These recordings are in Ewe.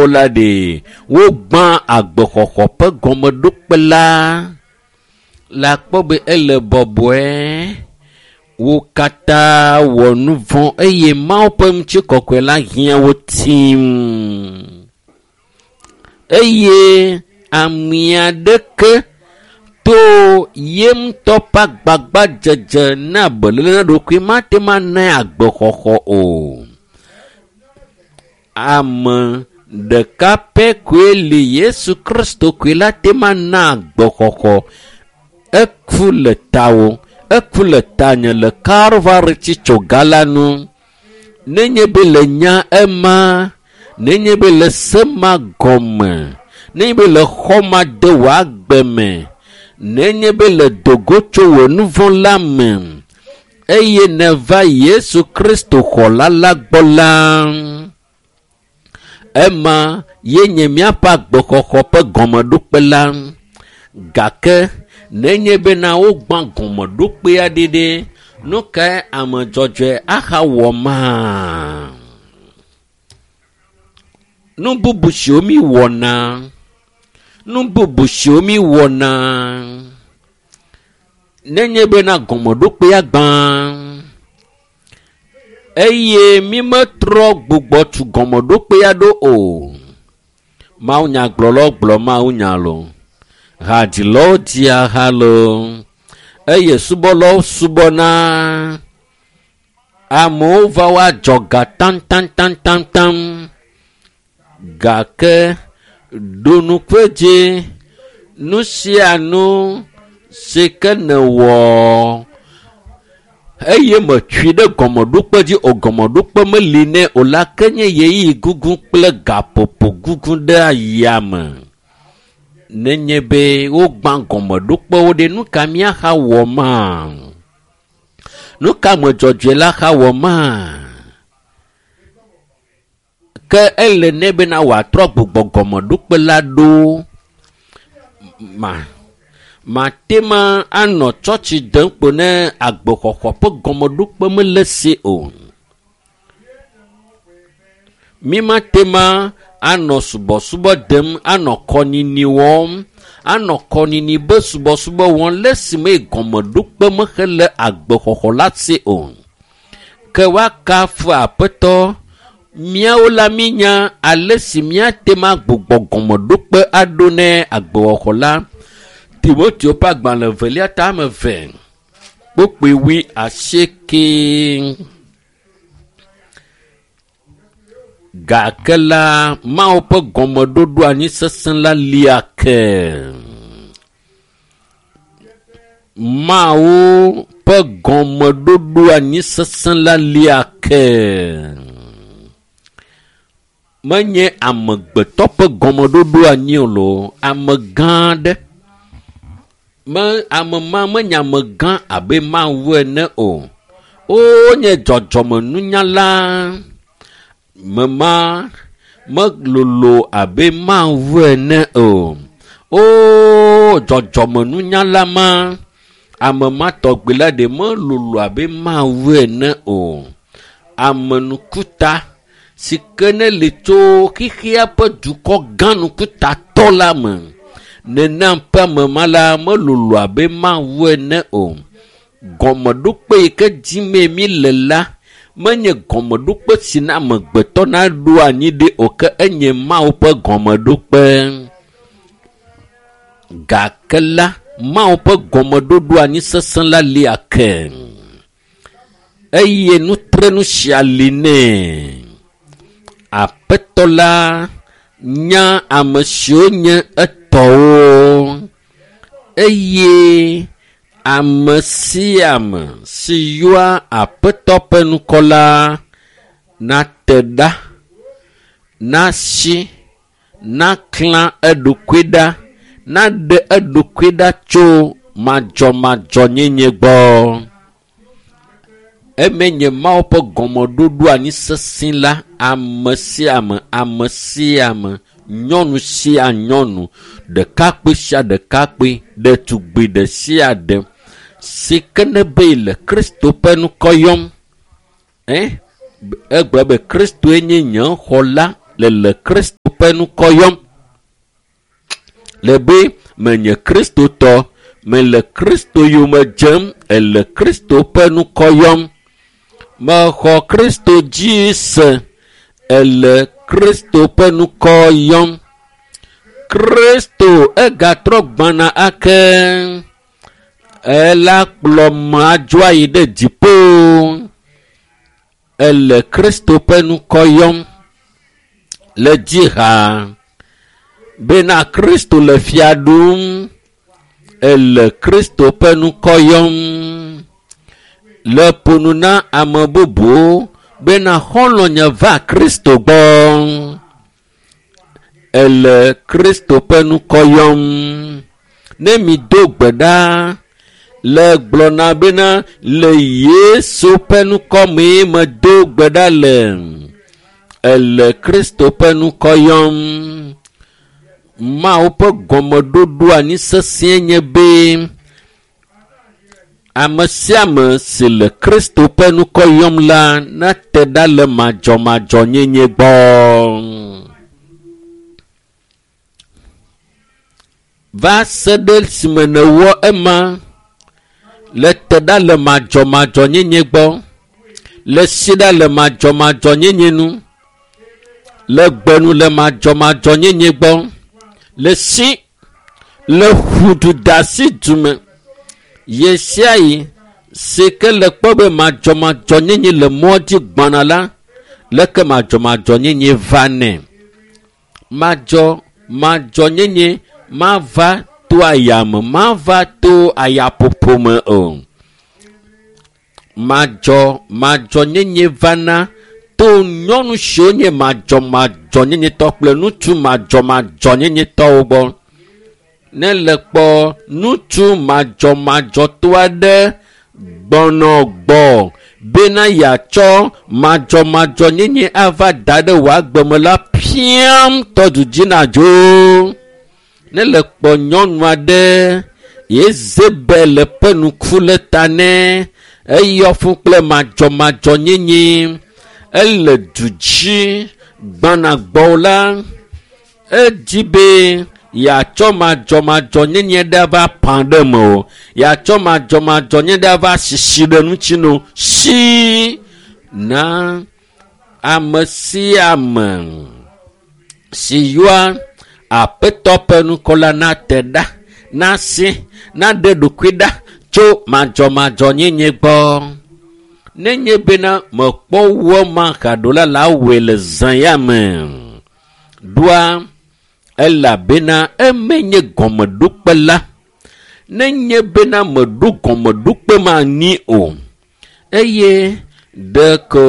o la ɖe wogbã agbexɔxɔ ƒe gɔmeɖokpe la le akpɔ be ele bɔbɔe wo katã wɔ nu vɔ̃ eye Mawu ƒe ŋutikɔkɔe la hiã wo tim eye ame aɖeke to ye ŋutɔ ƒe agbagbadzedze na beléle na ɖokui mate ŋu anae agbexɔxɔ o. Ame ɖeka pɛ koe li Yesu Kristo koe la te ŋu ana agbexɔxɔ. Eku le tawò, eku le tanye le Kalvari tsitsoga la nu. Nenye be le nya ema, nenye be le se ma gɔme, nenye be le xɔ ma de wò agbe me, nenye be le dogo tso wò nu vɔ̃ la me eye nèva Yesu Kristo xɔla la gbɔ la, ema ye nye míaƒe agbexɔxɔ ƒe gɔmeɖokpe la. Gake nenye bena wogbã gɔmeɖokpea ɖi ɖe, nu kae ame dzɔdzɔe ahawɔ ma? Nu bubu siwo mi wɔna, nu bubu siwo mi wɔna, nenye bena gɔmeɖokpea gbã eye mi metrɔ gbugbɔ tu gɔmeɖokpea ɖo o. Mawunyagblɔlawo gblɔ mawunya lo, hadzilawo dzia ha lo, eye subɔlawo subɔna. Amewo va woadzɔ ga taŋtaŋtaŋtaŋ gake ɖo ŋku edzi nu sia nu si ke nèwɔ eye metsui ɖe gɔmeɖokpe dzi o gɔmeɖokpe meli nɛ o la ke nye ɣeyiɣi gugu kple gaƒoƒo gugu ɖe ayame. Nenye be wogbã gɔmeɖokpewo ɖe nu ka míaxa wɔ ma? Nu ka ame dzɔdzɔe la xa wɔ ma? Ke ele nɛ bena wòatrɔ gbugbɔ gɔmeɖokpe la ɖo ma. Mate ma anɔ tsɔtsi dem kpo ne agbexɔxɔ ƒe gɔmeɖokpe mele si o. Mi mate ma anɔ subɔsubɔ dem, anɔ kɔnyinyi wɔm, anɔ kɔnyinyi be subɔsubɔ wɔm le esime gɔmeɖokpe mexele agbexɔxɔ la si o. Ke woakafu Aƒetɔ. Míawo la mínya ale si míate ŋu agbugbɔ gɔmeɖokpe aɖo ne agbexɔxɔ la. Timoteo ƒe agbalẽ evelia ta ame eve kpukpui wui asieke. Gake la Mawu ƒe gɔmeɖoɖo anyi sesẽ la lia ke. Mawu ƒe gɔmeɖoɖo anyi sesẽ la lia ke. Menye amegbetɔ ƒe gɔmeɖoɖo anyi o loo, ame gã aɖe. Me ame ma menye amegã abe Mawu ene o. Wonye dzɔdzɔmenunyala. Mema melolo abe Mawu ene o. O dzɔdzɔmenunyala ma, ame ma tɔgbi la ɖe melolo abe Mawu ene o. Amenukuta si ke ne li tso xexea ƒe dukɔ gã nukutatɔ la me. Nenam ƒe ame ma la melolo abe Mawu ene o. Gɔmeɖokpe yi ke dzimee mi le la menye gɔmeɖokpe si na amegbetɔ naɖo anyi ɖi o ke enye Mawu ƒe gɔmeɖokpe. Gake la Mawu ƒe gɔmeɖoɖo anyi sesẽ la lia ke eye nutrenu sia li nɛ. Aƒetɔ la nya ame siwo nye etɔwo eye ame sia ame si yɔa Aƒetɔ ƒe ŋkɔ la nate ɖa, nasi, naklã eɖokui ɖa, naɖe eɖokui ɖa tso madzɔmadzɔnyenye gbɔ. Eme nye Mawu ƒe gɔmeɖoɖo anyi sesẽ la, ame sia ame, ame sia ame, nyɔnu sia nyɔnu, ɖekakpui sia ɖekakpui, ɖetugbi ɖe sia ɖe si ke ne be le Kristo ƒe ŋkɔ yɔm. Egblɔ be Kristoe nye nye xɔla le le Kristo Kristo ƒe ŋkɔ yɔm. Le be menye Kristotɔ, mele Kristo yome dzem, ele Kristo ƒe ŋkɔ yɔm. Mexɔ Kristo dzi se, ele Kristo ƒe ŋkɔ yɔm. Kristo egatrɔ gbɔna ake. Ela kplɔ me adzo ayi ɖe dziƒo. Ele Kristo ƒe ŋkɔ yɔm le dzi ha bena Kristo le fia ɖum. Ele Kristo ƒe ŋkɔ yɔm le ƒo nu na ame bubuwo bena xɔlɔ̃nye va Kristo gbɔ. Ele Kristo ƒe ŋkɔ yɔm. Ne mi do gbe ɖa le gblɔna bena le Yesu ƒe ŋkɔ mee medo gbe ɖa le. Ele Kristo ƒe ŋkɔ yɔm. Mawu ƒe gɔmeɖoɖo anyi sesĩe nye be ame sia ame si le Kristo ƒe ŋkɔ yɔm la nate ɖa le madzɔmadzɔnyenye gbɔ. Va se ɖe esime nèwɔ ema le te ɖa le madzɔmadzɔnyenye gbɔ, le si ɖa le madzɔmadzɔnyenye nu, le gbe nu le madzɔmadzɔnyenye gbɔ, le si le ƒu du de asi du me. Ɣe sia ɣi si ke le kpɔ be madzɔmadzɔnyenye le mɔ dzi gbɔna la, leke madzɔmadzɔnyenye va nɛ. Madzɔmadzɔnyenye mava to ayame, mava to ayaƒoƒo me o. Madzɔmadzɔnyenye vana to nyɔnu siwo nye madzɔmadzɔnyenyetɔ kple ŋutsu madzɔmadzɔnyenyetɔwo gbɔ. Ne le kpɔ ŋutsu madzɔmadzɔtɔ aɖe gbɔnɔ gbɔ bena yeatsɔ madzɔmadzɔnyenye ava da ɖe wò agbe me la, piam tɔ du dzi nadzo. Ne le kpɔ nyɔnu aɖe Yezebel ƒe ŋku le ta nɛ, eyɔ fũ kple madzɔmadzɔnyenye, ele du dzi gbɔna gbɔ la, edzi be yeatsɔ madzɔmadzɔnyenye ɖe ava ƒã ɖe me o, yeatsɔ madzɔmadzɔnyenye ɖe ava sisi ɖe ŋuti no si na ame sia ame si yɔa Aƒetɔ ƒe ŋkɔ la nate ɖa, nasi, naɖe ɖokui ɖa tso madzɔmadzɔnyenye gbɔ. Nenye bena mekpɔ wɔ ma haɖo la, la wɔe le zã ya me. Ɖoa elabena eme nye gɔmeɖokpe la. Nenye bena meɖo gɔmeɖokpe ma anyi o, eye ɖeko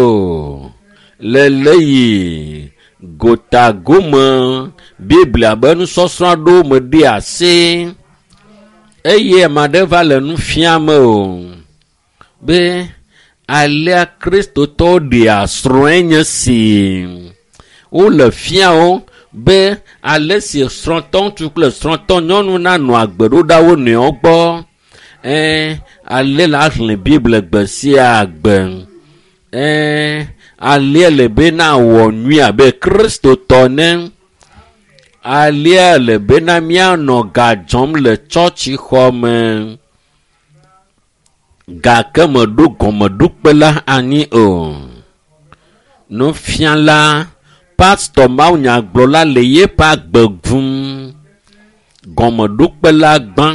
le le yi gotagome Biblia be nusɔsrɔ̃ aɖewo me ɖe asi eye ame aɖe va le nu fiam o be alea Kristotɔwo ɖea srɔ̃e nye si. Wole fia wo be ale si srɔ̃tɔ ŋutsu kple srɔ̃tɔ nyɔnu nanɔ agbe ɖo ɖa wo nɔewo gbɔ. Ale la xlẽ Biblia gbe sia gbe. Alea le be nawɔ nyui abe Kristotɔ ne. Alea le bena míanɔ ga dzɔm le tsɔtsixɔ me. Gake meɖo gɔmeɖokpe la anyi o. Nufiala, pastɔ mawunyagblɔla le yeƒe agbe gum. Gɔmeɖokpe la gbã.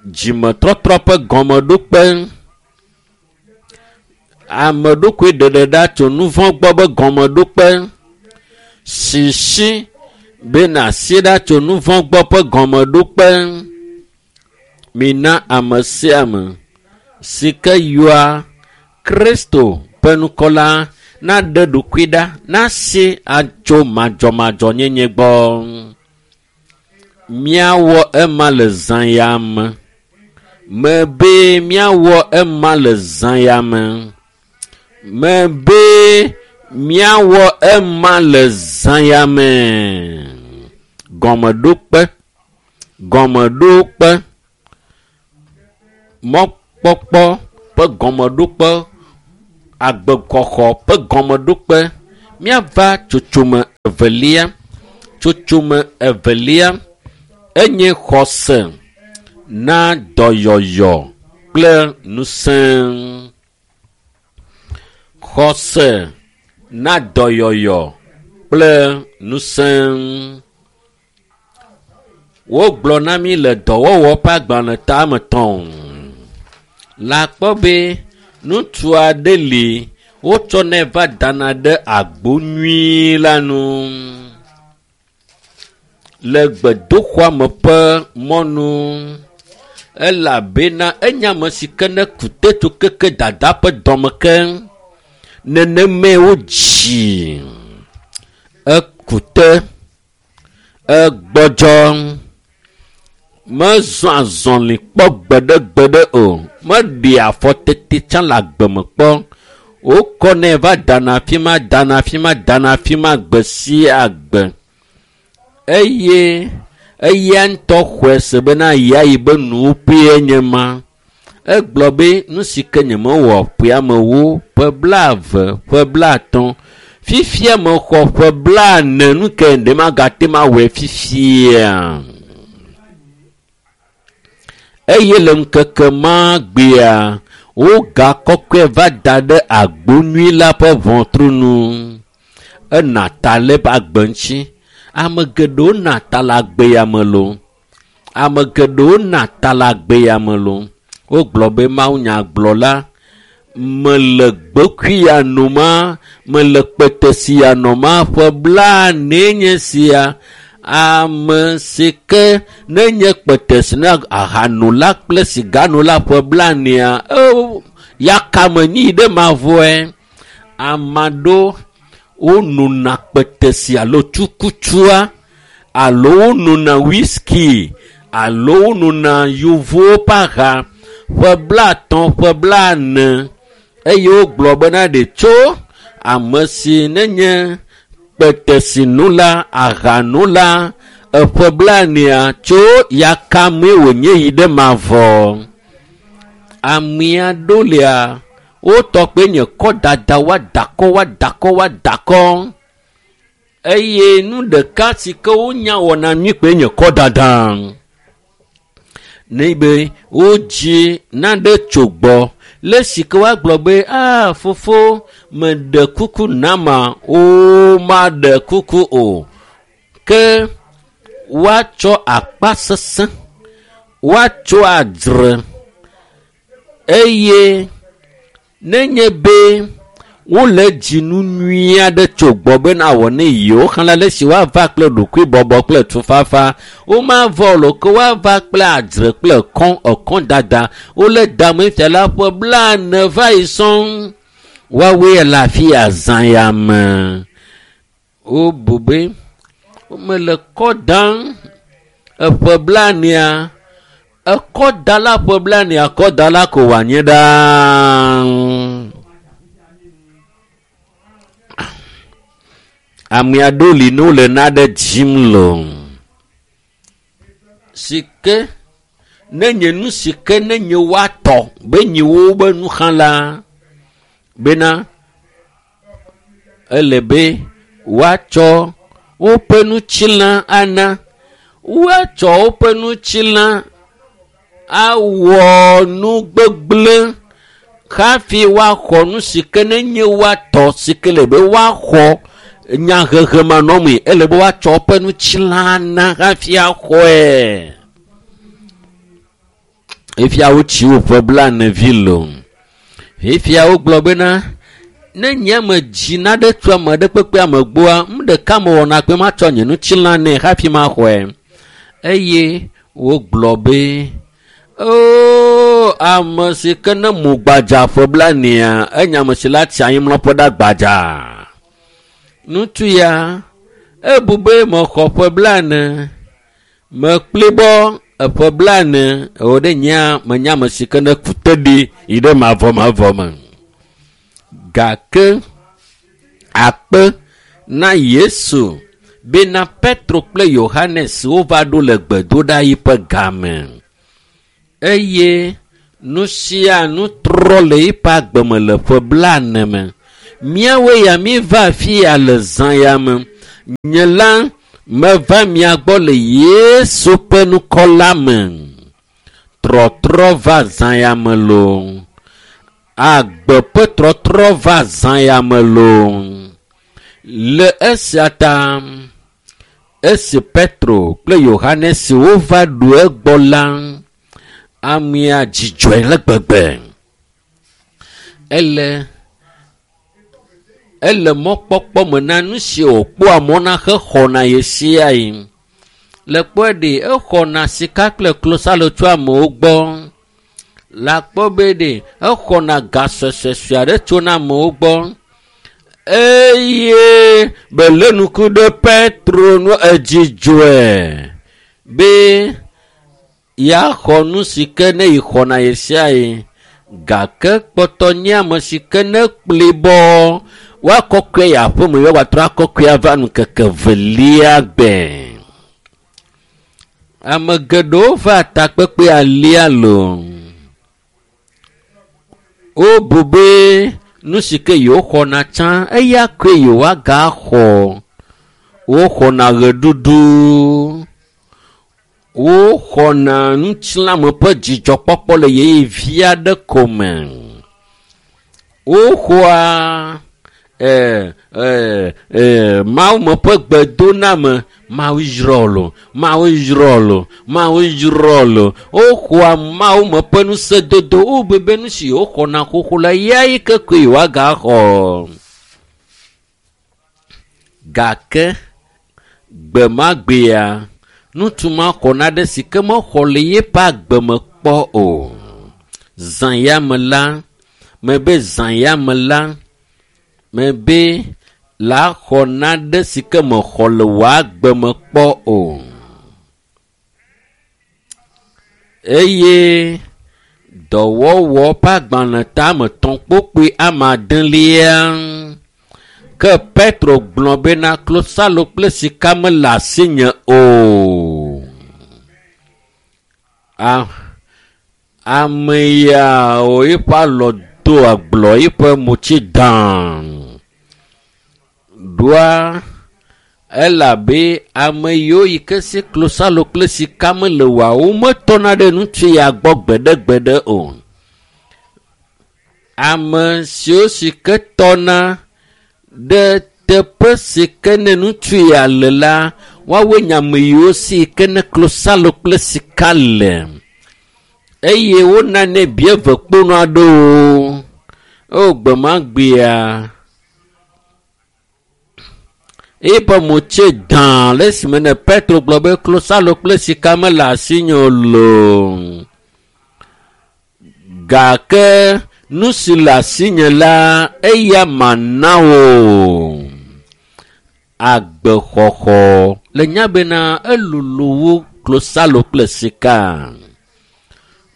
Dzimetɔtrɔ ƒe gɔmeɖokpe. Ame ɖokui ɖeɖe ɖa tso nu vɔ̃ gbɔ be gɔmeɖokpe. Sisi be nàsi ɖa tso nu vɔ̃ gbɔ ƒe gɔmeɖokpe. Mina ame sia ame si ke yɔa Kristo ƒe ŋkɔ la naɖe ɖokui ɖa, nasi atso madzɔmadzɔnyenye gbɔ. Míawɔ ema le zã ya me. Mebe míawɔ ema le zã ya me. Mebe míawɔ ema le zã ya me. Gɔmeɖokpe, gɔmeɖokpe, mɔkpɔkpɔ ƒe gɔmeɖokpe, agbekɔxɔ ƒe gɔmeɖokpe. Míava tsotsome Evelia, tsotsome evelia enye xɔse na dɔyɔyɔ kple ŋusẽ. Xɔse na dɔyɔyɔ kple ŋusẽ. Wogblɔ na mí le dɔwɔwɔ ƒe agbalẽ tame tɔ̃ la kpɔ be ŋutsu aɖe li wotsɔnɛ va dana ɖe agbo nyui la nu le gbedoxɔa me ƒe mɔnu elabena enye ame si ke ne ku te tso keke dada ƒe dɔme ke nenemae wodzi eku te egbɔdzɔ mezɔ azɔli kpɔ gbeɖegbeɖe o meɖe afɔ tete tsã le agbeme kpɔ wokɔnɛ va dana afi ma dana afi ma dana afi ma gbe sia gbe eye eya ŋutɔ xɔe se bena yeayi be nuwuƒee nye ma. Egblɔ be nu si ke nyemewɔ ƒeamewo ƒe blaeve ƒe blaatɔ̃ fifia mexɔ ƒe blaene nu ke ɖe magate ŋu awɔe fifia. Eye le ŋkeke ma gbea wogakɔkɔe va da ɖe agbo nyui la ƒe ʋɔtru nu. Ena ta le eƒe agbe ŋuti. Ame geɖewo na ta le agbe ya me loo. Ame geɖewo na ta le agbe ya me loo. Wogblɔ be mawunyagblɔla mele gbekui ya noma, mele kpete ya nɔma ƒe blaenee nye sia. Ame si ke nenye kpete si na ahanola kple siganola ƒe blaenea, yakame nyi ɖe mavɔe. Ame aɖewo wonona kpetesi alo tsukutsua alo wonona whisky alo wonona yevuwo ƒe aha ƒe blaatɔ̃ ƒe blaene eye wogblɔ bena ɖe tso ame si nenye kpetesinula ahanula eƒe blaenea tso yakamee wònye yi ɖe mavɔ. Ame aɖewo lia wotɔ kpe nye kɔ dada woadakɔ woadakɔ woadakɔ eye nu ɖeka si ke wonya wɔna nyui kpe nye kɔ dada. Ne be wodzi naɖe tso gbɔ le si ke woagblɔ be a fofo meɖe kuku nama womaɖe kuku o ke woatsɔ akpa sesẽ woatsɔ adzre eye nenye be wole dzinu nyui aɖe tso gbɔ bena wɔ ne yewo xlẽ le si woava kple ɖokuibɔbɔ kple tufafa womavɔ o ke woava kple adzre kple ekɔn ekɔn dada wole dame fia la ƒe blaene va yi sɔŋ woawoe le afi ya zã ya me wobu be womele kɔ dam eƒe blaenea ekɔdala ƒe blaenea kɔdala ko wòanye ɖaa. Ame aɖewo li ne wole naɖe dzim loo. Si ke nenye nu si ke nenye woatɔ be nye wo be nuxlẽla bena ele be woatsɔ woƒe ŋutilã ana woatsɔ woƒe ŋutilã awɔ nu gbegblẽ hafi woaxɔ nu si ke nenye woatɔ si ke le be woaxɔ nyahehe manɔmee ele be woatsɔ woƒe ŋutilã ana hafi axɔe. Efia wotsi woƒe blaene vi loo. Efia wogblɔ bena ne nye me dzi naɖe tso ame ɖe kpekpe ame gbɔa, nu ɖeka mewɔna kpe matsɔ nye ŋutilã nɛ hafi maxɔe. Eye wogblɔ be oo ame si ke ne mo gbadza ƒe blaenea enye ame si la tsi anyimlɔƒe ɖe gbadza. Ŋutsu ya ebu be mexɔ ƒe blaene mekplibɔ eƒe blaene ewɔ ɖe nyea menye ame si ke ne ku te ɖi yi ɖe mavɔmavɔ me. Gake akpe na Yesu bena Petro kple Yohanes wova ɖo le gbedoɖa yi ƒe game eye nu sia nu trɔ le eƒe agbe me le ƒe blaene me. Míawoe ya míeva afi ya le zã ya me. Nye la meva mia gbɔ le Yesu ƒe ŋkɔ la me. Trɔtrɔ va zã ya me loo. Agbe ƒe trɔtrɔ va zã ya me loo. Le esia ta, esi Petro kple Yohanes wova ɖo egbɔ la, amea dzidzɔe le gbegbe. Ele mɔkpɔkpɔ me na nu si wòkpɔa mɔ na hexɔna ɣe sia ɣi. Le kpɔe ɖe, exɔna sika kple klosalo tso amewo gbɔ. Le akpɔ be ɖe, exɔna ga suesuesue aɖe tso na amewo gbɔ. Eye belé ŋku ɖe Petro nu edzidzɔe be yeaxɔ nu si ke ne yixɔna ɣe sia ɣi. Gake kpɔtɔ nye ame si ke ne kpli bɔ woakɔkɔe yi aƒeme ye woatrɔ akɔkɔe ava ŋkeke velia gbe. Ame geɖewo va takpekpe alia loo. Wobu be nu si ke yewoxɔna tsã eya koe yewoagaxɔ. Woxɔna ɣeɖuɖu, woxɔna ŋutilãme ƒe dzidzɔkpɔkpɔ le ɣeyiɣi vi aɖe ko me. Woxɔa Mawume ƒe gbedoname, Mawu yrɔ lo, Mawu yrɔ lo, Mawu yrɔ lo. Woxɔa Mawume ƒe ŋusẽdodo, wobu be nu si yewoxɔna xoxo la, eya yi ke koe yewoagaxɔ. Gake gbe ma gbea, ŋutsu ma xɔ nane si ke mexɔ le yeƒe agbe me kpɔ o. Zã ya me la, mebe zã ya me la, mebe la xɔ nane si ke mexɔ le wò agbe me kpɔ o. Eye dɔwɔwɔ ƒe agbalẽ tame tɔ̃ kpokpoe ame adelia. Ke Petro gblɔ bena klosalo kple sika mele asinye o. Ame yawo eƒe alɔ do agblɔ eƒe motsi dã. Ɖoa elabe ame yiwo yi ke si klosalo kple sika mele oa, wometɔna ɖe ŋutsu ya gbɔ gbeɖegbeɖe o. Ame siwo si ke tɔna ɖe teƒe si ke ne ŋutsu ya le la, woawoe nye ame yiwo si ke ne klosalo kple sika le. Eye wonanɛ bieve kpono aɖewo. O gbe ma gbea, eƒe motse dã le esime ne Petro gblɔ be klosalo kple sika mele asinye o loo. Gake nu si le asinye la, eya mana wò. Agbexɔxɔ le nya bena elolo wu klosalo kple sika.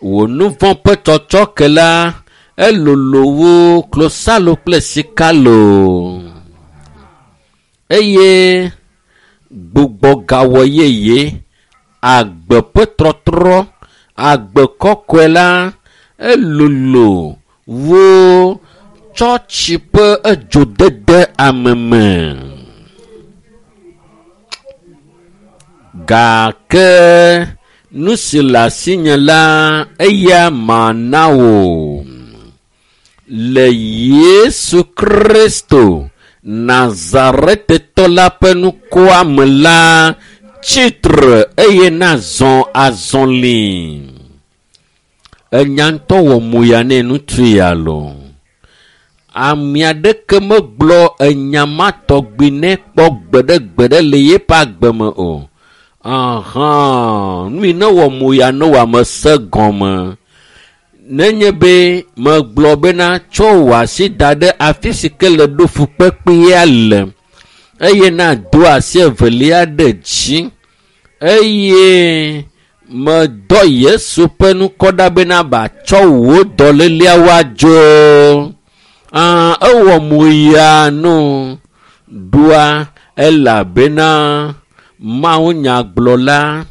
Wò nu vɔ̃ ƒe tsɔtsɔke la, elolo wu klosalo kple sika loo. Eye gbugbɔgawɔ yeye, agbe ƒe trɔtrɔ, agbe kɔkɔe la, elolo wu tsɔtsi ƒe edzodede ame me. Gake nu si le asinye la, eya mana wò. Le Yesu Kristo Nazaretetɔ la ƒe ŋkɔa me la, tsitre eye nazɔ azɔli. Enya ŋutɔ wɔ moya nɛ ŋutsu ya loo. Ame aɖeke megblɔ enya ma tɔgbi nɛ kpɔ gbeɖegbeɖe le yeƒe agbe me o. Ahã, nu yi ne wɔ moya ne wò ame se gɔme. Nenye be megblɔ bena tsɔ wò asi da ɖe afi si ke le ɖo fukpekpea le eye nado asi evelia ɖe dzi eye medɔ Yesu ƒe ŋkɔ ɖa bena batsɔ wò dɔléleawo adzo. Ewɔ moya no ɖoa elabena Mawunyagblɔla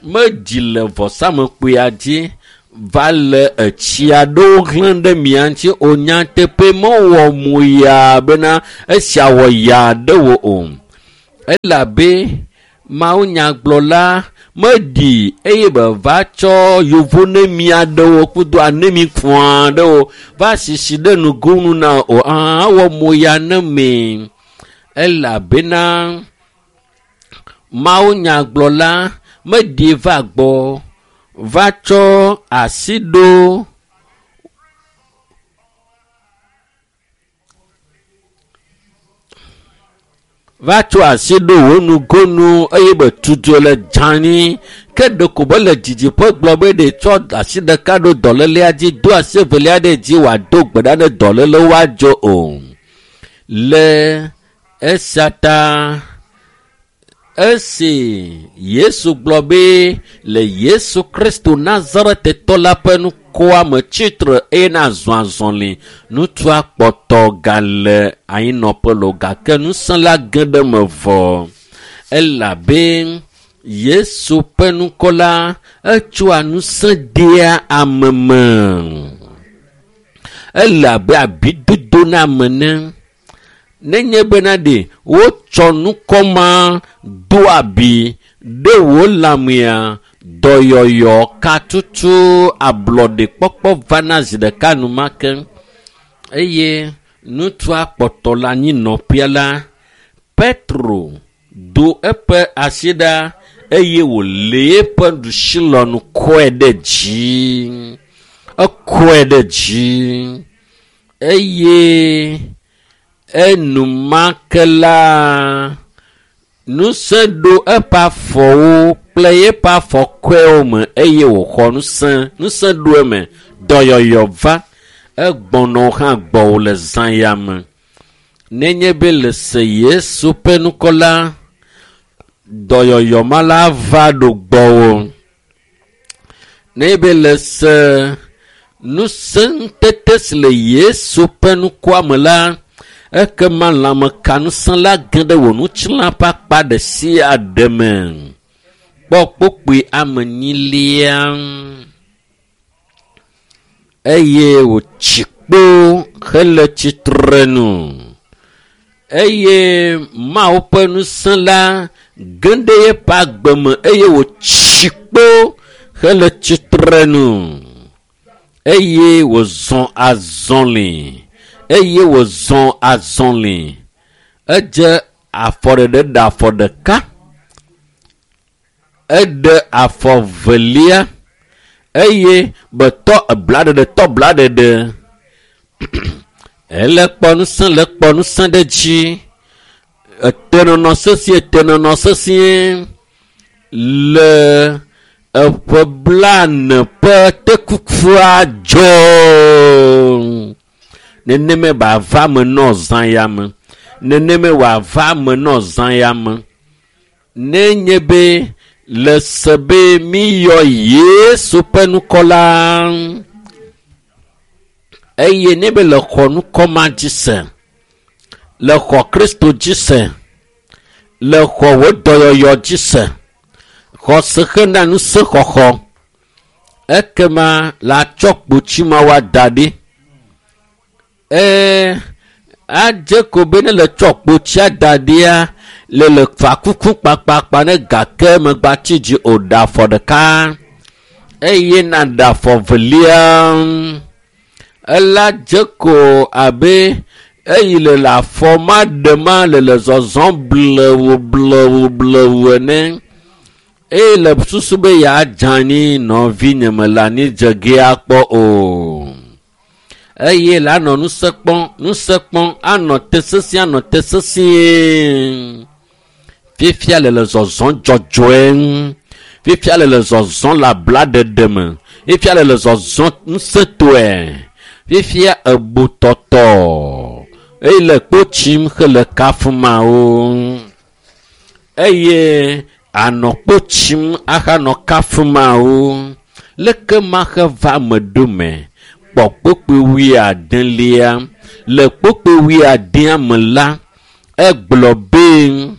medzi le vɔsamlekpuia dzi va le etsi aɖewo hlẽ ɖe mia ŋuti o. Nyateƒe mewɔ moya bena esia wɔ ya ɖe wò o. Elabe mawunyagblɔla meɖi eye beva tsɔ yevu nemi aɖewo kudo anemi fũ aɖewo va sisi ɖe nugonu na o. Awɔ moya ne me elabena mawunyagblɔla meɖi va gbɔ va tsɔ asi ɖo va tsɔ asi ɖo wò nugonu eye be tutu le dzani ke ɖeko be le didiƒe gblɔ be ɖe tsɔ asi ɖeka ɖo dɔlélea dzi do asi evelia ɖe dzi wòado gbe ɖa ne dɔléle woadzo o. Le esia ta esi Yesu gblɔ be le Yesu Kristo Nazaretetɔ la ƒe nukua me tsitre eye nazɔ azɔli, ŋutsua kpɔtɔ gale anyinɔƒe lo gake ŋusẽ la ge ɖe eme vɔ. Elabe Yesu ƒe ŋkɔ la etsɔa ŋusẽ dea ame me. Ele abe abidodo na ame ene. Nenye bena ɖe wotsɔ nukɔ ma do abi ɖe wò lãmea, dɔyɔyɔ katutu ablɔɖekpɔkpɔ vana zi ɖeka enumake eye ŋutsua kpɔtɔ le anyinɔƒea la, Petro do eƒe asi ɖa eye wòle eƒe ɖusilɔnu kɔe ɖe dzi. Ekɔe ɖe dzi eye enumake la ŋusẽ ɖo eƒe afɔwo kple eƒe afɔkɔewo me eye wòxɔ ŋusẽ. Ŋusẽ ɖo eme. Dɔyɔyɔ va. Egbɔnɔ hã gbɔwò le zã ya me. Nenye be le se Yesu ƒe ŋkɔ la, dɔyɔyɔ ma la va ɖo gbɔwò. Nenye be le se ŋusẽ ŋutete si le Yesu ƒe ŋkɔa me la, ekema lãmekaŋusẽ la ge ɖe wò ŋutilã ƒe akpa ɖe sia ɖe me. Kpɔ kpokpoe ame enyilia eye wòtsi kpo hele tsitre nu eye Mawu ƒe ŋusẽ la ge ɖe eƒe agbe me eye wòtsi kpo hele tsitre nu eye wòzɔ azɔli eye wòzɔ azɔli. Edze afɔɖeɖe ɖe afɔ ɖeka, eɖe afɔ velia eye betɔ eblaɖeɖe tɔ blaɖeɖe. Ele kpɔ ŋusẽ le kpɔ ŋusẽ ɖe dzi. Etenɔnɔ sesĩe tenɔnɔ sesĩe le eƒe blaene ƒe tekukua dzɔ. Neneme wòava me nɔ zã ya me. Neneme wòava me nɔ zã ya me. Nenye be le se be míyɔ Yesu ƒe ŋkɔ la eye ne be le xɔ ŋkɔ ma dzi se, le xɔ Kristo dzi se, le xɔ wò dɔyɔyɔ dzi se, xɔse hena ŋusẽxɔxɔ, ekema la tsɔ kpotsi ma woada ɖi. Ee, adze ko be ne le tsɔ kpotsia da ɖia, le le fa kuku kpakpakpa ne gake megbatsi dzi o ɖe afɔ ɖeka eye naɖe afɔ velia. Ela dze ko abe eyi le le afɔ ma ɖe ma le le zɔzɔm blewu blewu blewu ene eye le susu be yeadze anyi nɔvinye me le anyi dze ge akpɔ o. Eye la nɔ ŋusẽ kpɔm, ŋusẽ kpɔm, anɔ te sesĩe, anɔ te sesĩe. Fifia le le zɔzɔm dzɔdzɔe ŋu. Fifia le le zɔzɔm le ablaɖeɖe me. Fifia le le zɔzɔm ŋusẽtɔe. Fifia ebu tɔtɔ eye le kpo tsim hele kafumawo. Eye anɔ kpo tsim ahanɔ kafumawo. Leke mahe va eme ɖo me? Kpɔ kpokpoe wuiadelia. Le kpokpoe wuiadea me la, egblɔ be.